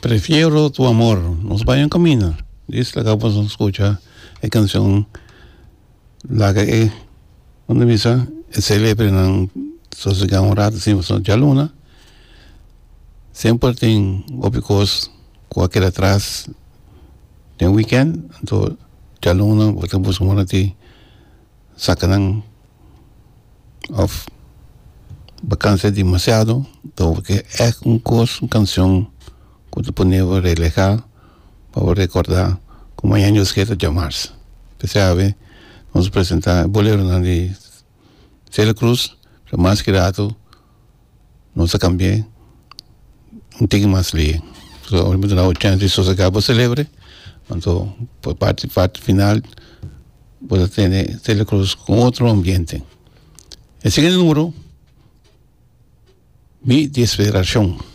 Prefiero tu amor. Nos bai un camina. Dis laga bo scucha e cancion laga e unda bisa e celebrenan sosega un rato sin pasobra djaluna semper tin hopi cos cu a keda atras den weekend anto djaluna bo ta busca un ora di saca nan of vakansia demasiado to ke ègt un kos un kanshon ku ta pone bo relehá pa bo rekordá ku mañana Dios ke ta djamars. P'esei awe nos a presentá e boleronan di Celia Cruz pero mas ki rato nos a kambi'é un tiki mas lihe. So ora mi ta duna bo chèns di sosegá bo selebre anto pa parti parti final bo ta tene Celia Cruz ku otro ambiente. E siguiente numero, Mi Desesperacion.